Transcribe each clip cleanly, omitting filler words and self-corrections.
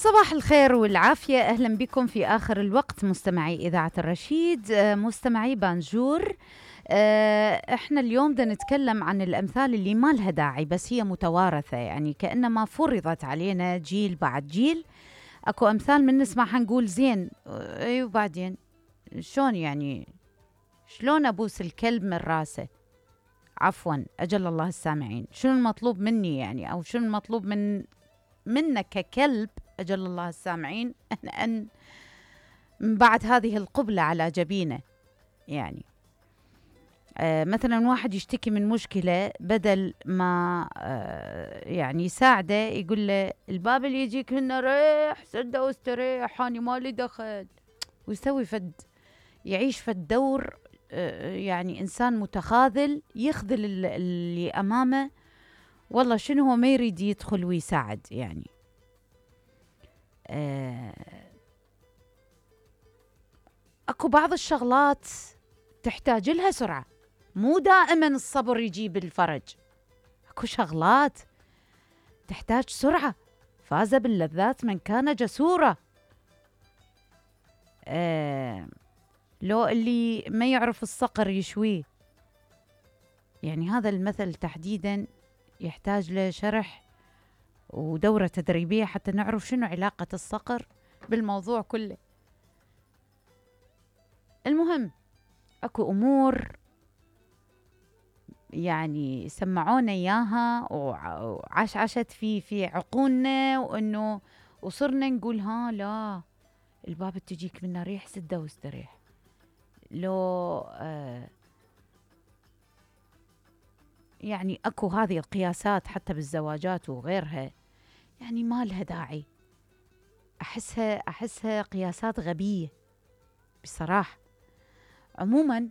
صباح الخير والعافية، أهلا بكم في آخر الوقت مستمعي إذاعة الرشيد، مستمعي بانجور. احنا اليوم بدنا نتكلم عن الأمثال اللي ما لها داعي بس هي متوارثة، يعني كأنما فرضت علينا جيل بعد جيل. أكو أمثال من نسمعها نقول زين، أيوة بعدين شلون يعني، شلون أبوس الكلب من راسه؟ عفوا أجل الله السامعين، شنو المطلوب مني يعني، أو شنو المطلوب منك ككلب أجل الله السامعين أن من بعد هذه القبلة على جبينه؟ يعني مثلا واحد يشتكي من مشكلة، بدل ما يعني يساعده يقول له الباب اللي يجيك هنا ريح سده واستريح، أنا مالي دخل، ويسوي يعيش دور يعني إنسان متخاذل، يخذل اللي أمامه. والله شنو هو ما يريد يدخل ويساعد يعني. اكو بعض الشغلات تحتاج لها سرعة، مو دائما الصبر يجيب الفرج. اكو شغلات تحتاج سرعة، فاز باللذات من كان جسورا. لو اللي ما يعرف الصقر يشويه، يعني هذا المثل تحديدا يحتاج له شرح ودورة تدريبية حتى نعرف شنو علاقة الصقر بالموضوع كله. المهم اكو امور يعني سمعونا اياها وعشت في عقولنا، وانه وصرنا نقول ها لا، الباب تجيك منه ريح سده واستريح. لو يعني اكو هذه القياسات حتى بالزواجات وغيرها، يعني ما لها داعي. احسها قياسات غبية بصراحة. عموما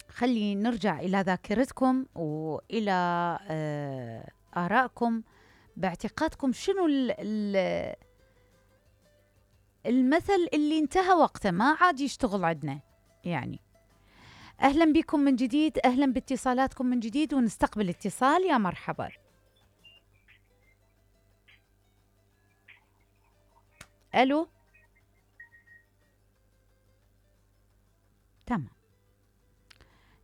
خلي نرجع إلى ذاكرتكم وإلى آرائكم باعتقادكم. شنو المثل اللي انتهى وقته ما عاد يشتغل عندنا يعني؟ أهلا بكم من جديد، أهلا باتصالاتكم من جديد، ونستقبل اتصال. يا مرحبا. ألو، تمام،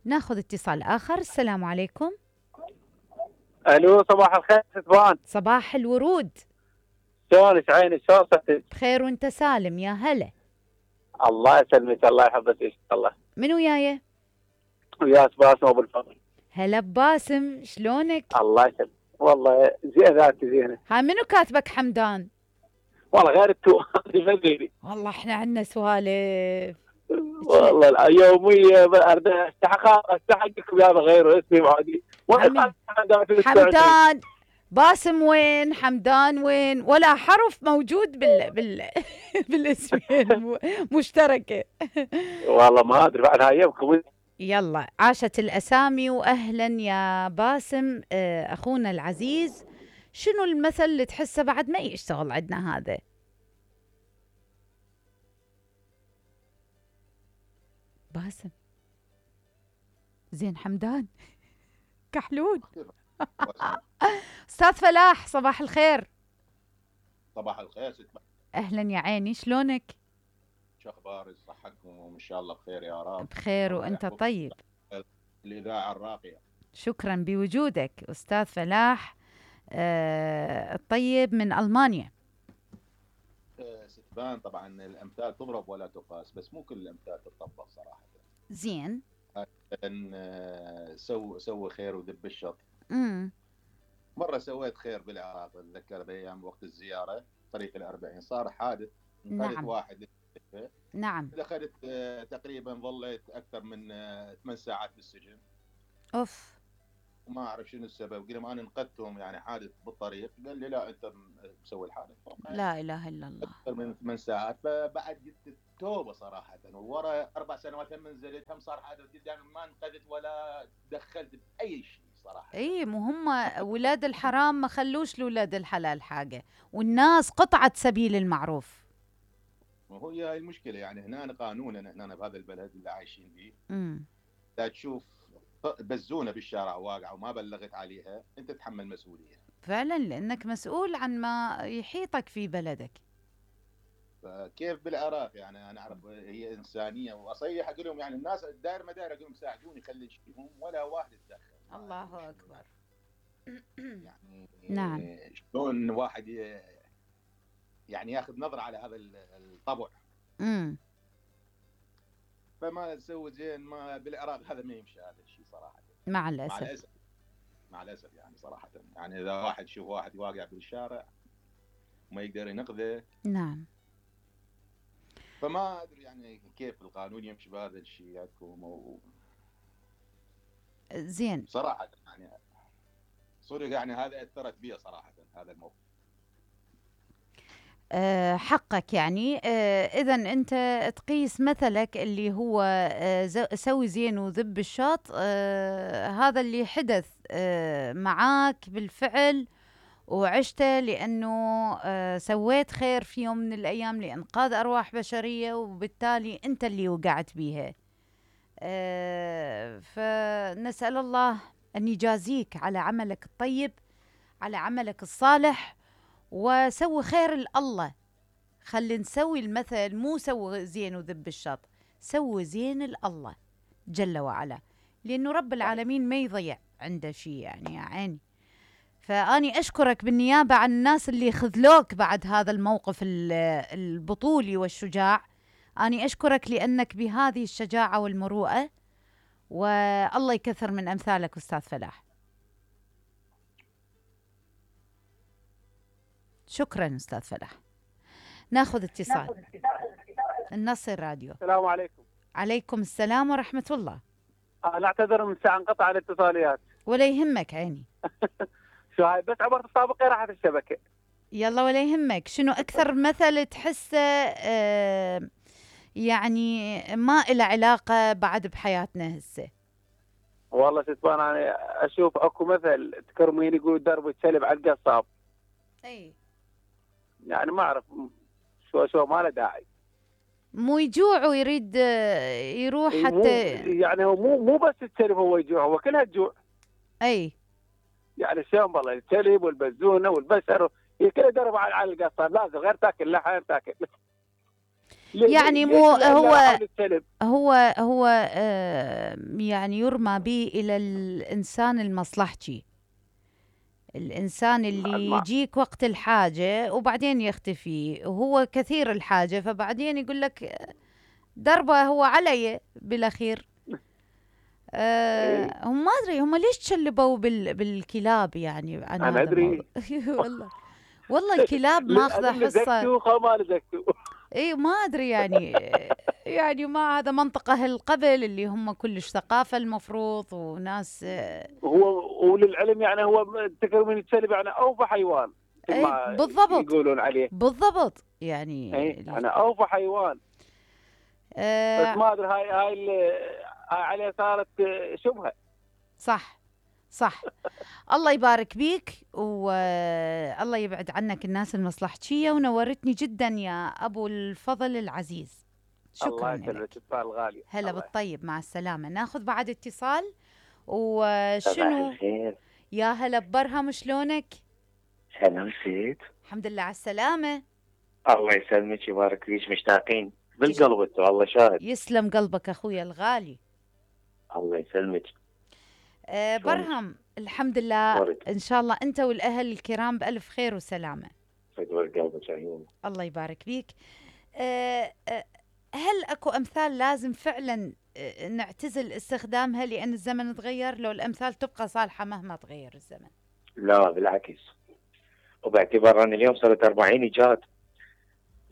ناخذ اتصال آخر. السلام عليكم. الو، صباح الخير ستبان. صباح الورود. شلونك عيني، شلون صحتك؟ بخير وانت سالم؟ يا هلا. الله يسلمك، الله يحفظك ان شاء الله. منو وياي؟ وياك باسم ابو الفضل. هلا بباسم، شلونك؟ الله يسلمك، والله زين ذاتي زينه. ها منو كاتبك حمدان؟ والله غير التو ما غيري. والله احنا عندنا سوالف والله يوميه استحقكم يا غيره اسمي معادي. حمدان باسم وين؟ حمدان وين؟ ولا حرف موجود بالاسمين مشتركه. والله ما ادري بعد هاي يومكم. يلا عاشت الاسامي، واهلا يا باسم اخونا العزيز. شنو المثل اللي تحسه بعد ما يشتغل عندنا هذا؟ باسم زين حمدان كحلول. استاذ فلاح صباح الخير. صباح الخير ست. اهلا يا عيني، شلونك؟ شو اخبارك؟ صحتكم وان شاء الله بخير يا رب. بخير وانت طيب. الاذاعه الراقيه. شكرا بوجودك استاذ فلاح الطيب من المانيا. ستبان طبعا الامثال تضرب ولا تقاس، بس مو كل الامثال تطبق صراحه. زين. سوي خير ودب الشر. مره سويت خير بالعراق، اتذكر بايام وقت الزياره طريق ال40 صار حادث، انقذت واحد. نعم. دخلت تقريبا ظليت اكثر من 8 ساعات بالسجن. اوف. وما اعرف شنو السبب، قلت انا انقذتهم يعني حادث بالطريق، قال لي لا انت مسوي الحادث. لا اله الا الله. اكثر من 8 ساعات، فبعد قلت توبه صراحه. وورا 4 سنوات هم نزلت، هم صار حادث قدامي، ما انقذت ولا دخلت باي شيء صراحه. اي مو هم ولاد الحرام ما خلوش لولاد الحلال حاجه، والناس قطعت سبيل المعروف. وهي هاي المشكله يعني. هنا قانونا هنا بهذا البلد اللي عايشين فيه، لا تشوف بزونه بالشارع واقعه وما بلغت عليها، انت تتحمل مسؤوليه. فعلا لأنك مسؤول عن ما يحيطك في بلدك. فكيف بالعراق يعني انا اعرف هي انسانيه، واصيح اقول لهم يعني الناس الدائر مدار اقول لهم ساعدوني خلي شيهم ولا واحد يتدخل. الله أكبر. يعني نعم. شلون واحد يعني ياخذ نظره على هذا الطبع. امم فما تسوي زين، ما بالعراق هذا ما يمشي هذا الشيء صراحه. مع مع الأسف. الاسف، مع الاسف يعني صراحه. يعني اذا واحد يشوف واحد واقع بالشارع وما يقدر ينقذه، نعم. فما ادري يعني كيف القانون يمشي بهذا الشيء عندكم. زين. صراحه يعني صدق يعني هذا اثرت بي صراحه هذا الموقف. حقك يعني. إذا أنت تقيس مثلك اللي هو سوي زين وذب الشاط. هذا اللي حدث معاك بالفعل وعشته، لأنه سويت خير في يوم من الأيام لإنقاذ أرواح بشرية، وبالتالي أنت اللي وقعت بيها. فنسأل الله أن يجازيك على عملك الطيب، على عملك الصالح، وسوي خير الله. خلي نسوي المثل، مو سوي زين وذب الشط، سوي زين الله جل وعلا، لأنه رب العالمين ما يضيع عنده شيء يعني يا عيني. فأني أشكرك بالنيابة عن الناس اللي خذلوك بعد هذا الموقف البطولي والشجاع. أني أشكرك لأنك بهذه الشجاعة والمروءة، والله يكثر من أمثالك أستاذ فلاح. شكرا أستاذ فلاح. ناخذ اتصال. النصر راديو. السلام عليكم. عليكم السلام ورحمة الله. أنا أعتذر من ساعة انقطع الاتصاليات. ولا يهمك عيني. شو هاي بس عبر تطابقي راحت الشبكة. يلا ولا يهمك. شنو أكثر مثل تحسه يعني ما إله علاقة بعد بحياتنا هسه؟ والله ستبان أنا أشوف أكو مثل تكرمين يقول درب الكلب على القصاب. أي يعني ما أعرف شو ما له داعي. مو يجوع ويريد يروح حتى يعني هو مو بس الكلب هو يجوع، هو كلها تجوع. أي يعني شلون والله الكلب والبزونه والبشر كله درب على القصاب، لازم غير تاكل لحم تاكل. يعني مو هو يعني يرمى به إلى الإنسان المصلحجي، الإنسان اللي يجيك وقت الحاجة وبعدين يختفي، وهو كثير الحاجة فبعدين يقول لك دربه هو علي بالأخير. هم ما أدري هم ليش تشلبوا بالكلاب يعني. أنا أدري. والله الكلاب ماخذة حصة. ما لزكتوا. اي ما ادري يعني ما هذا منطقة أهل قبل اللي هم كلش ثقافة المفروض وناس. هو وللعلم يعني هو تكرم من الكلب يعني اوفى حيوان. اي بالضبط يقولون عليه بالضبط يعني. انا اوفى حيوان. بس ما ادري هاي عليه صارت شبهة. صح. الله يبارك بيك والله يبعد عنك الناس المصلحجية، ونورتني جدا يا أبو الفضل العزيز. شكرا لك. الله يسلمك الغالي. هلا بالطيب، مع السلامة. ناخذ بعد اتصال. وشنو يا هلا ببرهم، شلونك؟ سلام سيد. الحمد لله على السلامة. الله يسلمك يبارك فيك، مشتاقين بالقلب انتو، الله شاهد. يسلم قلبك أخويا الغالي. الله يسلمك. برهم الحمد لله ورد. إن شاء الله أنت والأهل الكرام بألف خير وسلامة. فدور قلبك عيون. الله يبارك فيك. هل أكو أمثال لازم فعلا نعتزل استخدامها لأن الزمن تغير، لو الأمثال تبقى صالحة مهما تغير الزمن؟ لا بالعكس، وباعتبار أن اليوم صارت 40 إيجاد.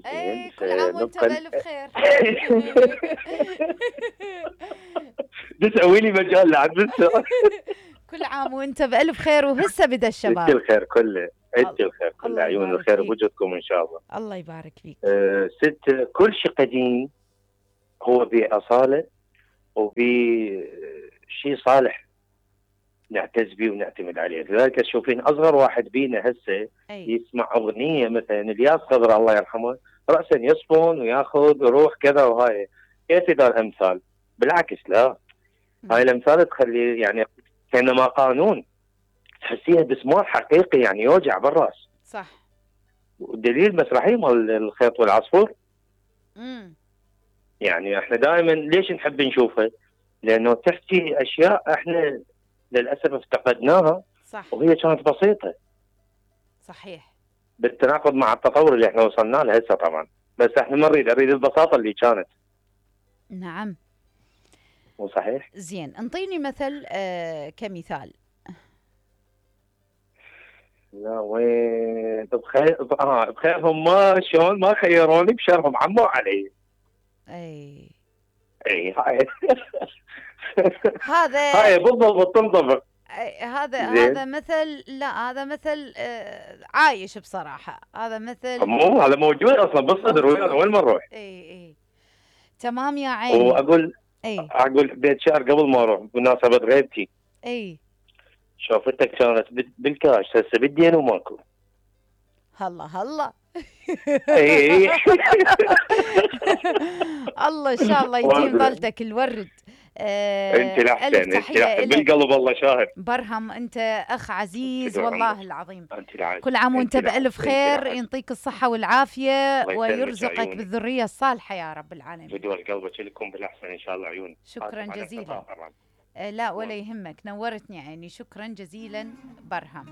اي كل عام وانت بألف خير. تسوي لي مجال لعد لسه. كل عام وانت بألف خير، وهسه بدا الشباب. انت الخير كله، انت الخير كله، عيون الخير بوجودكم ان شاء الله. الله يبارك فيك. ست كل شيء قديم هو بأصالة وبشيء صالح نعتز به ونعتمد عليه. لذلك تشوفين اصغر واحد بينا هسه يسمع اغنيه مثلا الياس خضر الله يرحمه راسا يصفن وياخذ ويروح كذا، وهاي كيف ذا الامثال؟ بالعكس لا، هاي الامثال تخلي يعني كانما قانون تحسيها بسمار حقيقي يعني يوجع بالراس. صح. والدليل مسرحيه مال الخيط والعصفور. يعني احنا دائما ليش نحب نشوفها؟ لانه تحكي اشياء احنا للاسف افتقدناها. صح. وهي كانت بسيطه. صحيح. بالتناقض مع التطور اللي احنا وصلنا له هسه طبعا، بس احنا ما نريد البساطه اللي كانت. نعم. مو صحيح؟ زين، انطيني مثل كمثال. لا وين بخيرهم ما شلون ما خيروني بشرهم عموا علي. اي هاي هذا هاي بالضبط تنطبق. هذا مثل، لا هذا مثل عايش بصراحة. هذا مثل مو هذا موجود اصلا بالصدر وين ما نروح. اي تمام يا عيني. واقول اقول بيت شعر قبل ما اروح بمناسبة غيبتي. شوفتك كانت بالكاش هسه بالدين وماكو. هلا اي الله ان شاء الله يديم ظلتك الورد. انت الاحسن بالقلب الله شاهد. برهم انت اخ عزيز والله العظيم. انت كل عام وانت بالف خير، يعطيك الصحه والعافيه ويرزقك بالذريه الصالحه يا رب العالمين. بدور قلبك لكم بالاحسن ان شاء الله عيون. شكرا جزيلا. لا ولا يهمك، نورتني عيني. شكرا جزيلا برهم.